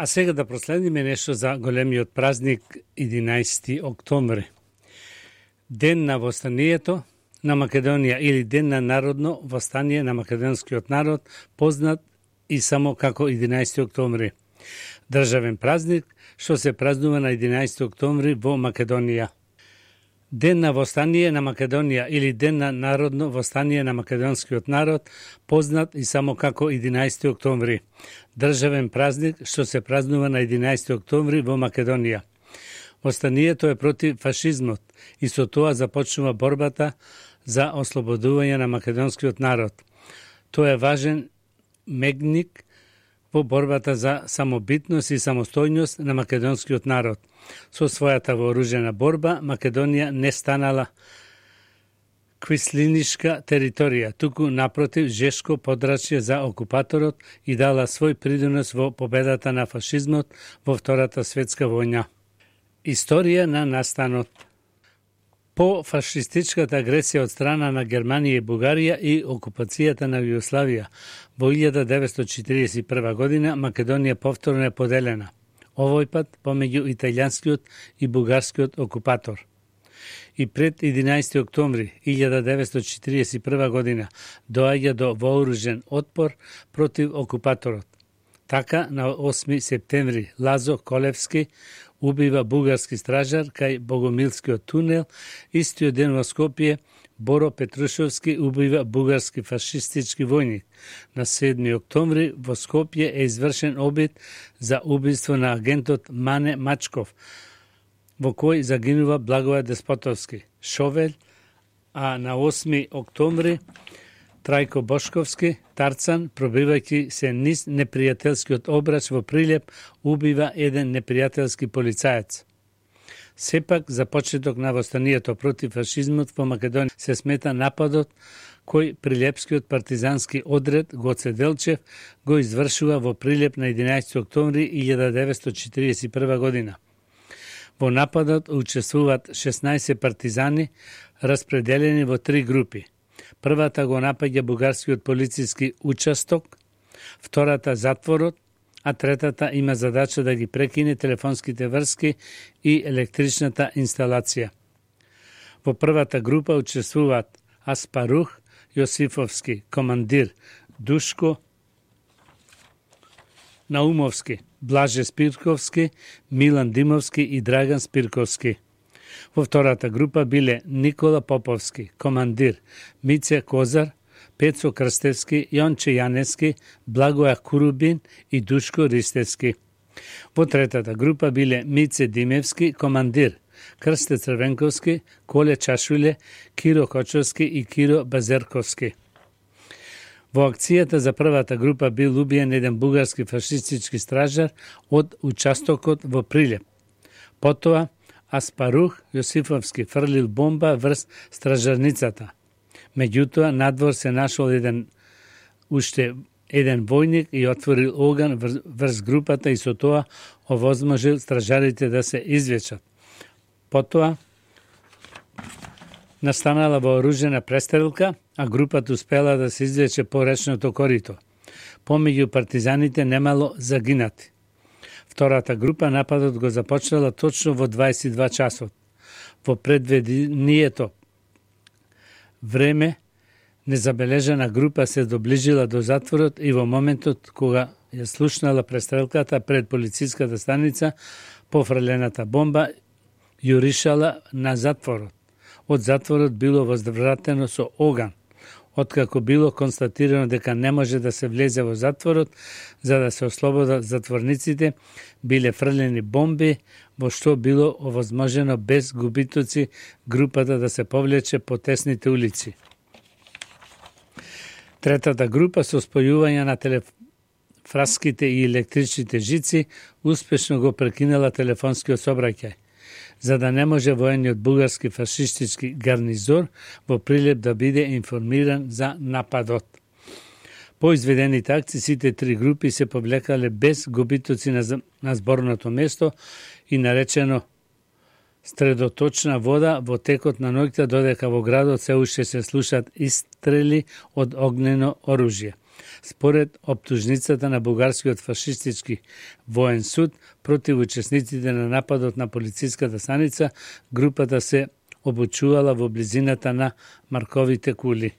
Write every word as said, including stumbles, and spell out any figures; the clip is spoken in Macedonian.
А сега да проследиме нешто за големиот празник единаесети октомври. Ден на востанието на Македонија или Ден на народно востание на македонскиот народ, познат и само како единаесети октомври. Државен празник што се празнува на единаесети октомври во Македонија. Ден на востание на Македонија или Ден на народно востание на македонскиот народ, познат и само како единаесети октомври. Државен празник што се празнува на единаесети октомври во Македонија. Востанието е против фашизмот и со тоа започнува борбата за ослободување на македонскиот народ. Тоа е важен мегник во борбата за самобитност и самостојност на македонскиот народ. Со својата вооружена борба, Македонија не станала квислинишка територија, туку напротив жешко подрачје за окупаторот и дала свој придонос во победата на фашизмот во Втората светска војна. Историја на настанот. По фашистичката агресија од страна на Германија и Бугарија и окупацијата на Југославија во илјада деветстотини четиридесет и прва година, Македонија повторно е поделена, овој пат помеѓу италијанскиот и бугарскиот окупатор. И пред единаесети октомври илјада деветстотини четиридесет и прва година доаѓа до вооружен отпор против окупаторот. Така, на осми септември Лазо Колевски убива бугарски стражар кај Богомилскиот тунел, истиот ден во Скопје Боро Петрушевски убива бугарски фашистички војник. На седми октомври во Скопје е извршен обид за убиство на агентот Мане Мачков, во кој загинува Благоје Деспотовски, Шовел, а на осми октомври Трајко Бошковски, Тарцан, пробивајќи се низ непријателскиот обрач во Прилеп, убива еден непријателски полицаец. Сепак, за почеток на востанието против фашизмот во Македонија се смета нападот кој Прилепскиот партизански одред Гоце Делчев го извршува во Прилеп на единаесети октомври илјада деветстотини четиридесет и прва година. Во нападот учествуваат шеснаесет партизани, распределени во три групи. Првата го напаѓа бугарскиот полициски участок, втората затворот, а третата има задача да ги прекине телефонските врски и електричната инсталација. Во првата група учествуваат Аспарух Јосифовски, командир, Душко Наумовски, Блаже Спирковски, Милан Димовски и Драган Спирковски. Во втората група биле Никола Поповски, командир, Мице Козар, Пецо Крстевски, Јонче Јанески, Благоја Курубин и Душко Ристевски. Во третата група биле Мице Димевски, командир, Крсте Црвенковски, Коле Чашуле, Киро Кочовски и Киро Базерковски. Во акцијата за првата група бил убиен еден бугарски фашистички стражар од участокот во Прилеп. Потоа, Аспарух Јосифовски фрлил бомба врз стражарницата. Меѓутоа, надвор се нашол еден уште еден војник и отворил оган врз групата и со тоа овозможил стражарите да се извлечат. Потоа, настанала вооружена престрелка, а групата успела да се извлече по речното корито. Помеѓу партизаните немало загинати. Втората група нападот го започнала точно во дваесет и два часот. Во предвидението време незабележана група се доближила до затворот и во моментот кога ја слушнала престрелката пред полициската станица, пофрлената бомба јуришала на затворот. Од затворот било возвратено со оган. Откако било констатирано дека не може да се влезе во затворот, за да се ослободат затворниците, биле фрлени бомби, во што било овозможено без губитоци групата да се повлече по тесните улици. Третата група со спојување на телефраските и електричните жици успешно го прекинала телефонскиот сообраќај, за да не може воениот бугарски фашистички гарнизор во Прилеп да биде информиран за нападот. По изведените акции, сите три групи се повлекале без губитоци на, на зборното место и наречено средоточна вода во текот на ноќта, додека во градот се уште се слушаат истрели од огнено оружје. Според оптужницата на бугарскиот фашистички воен суд против учесниците на нападот на полициската станица, групата се обучувала во близината на Марковите кули.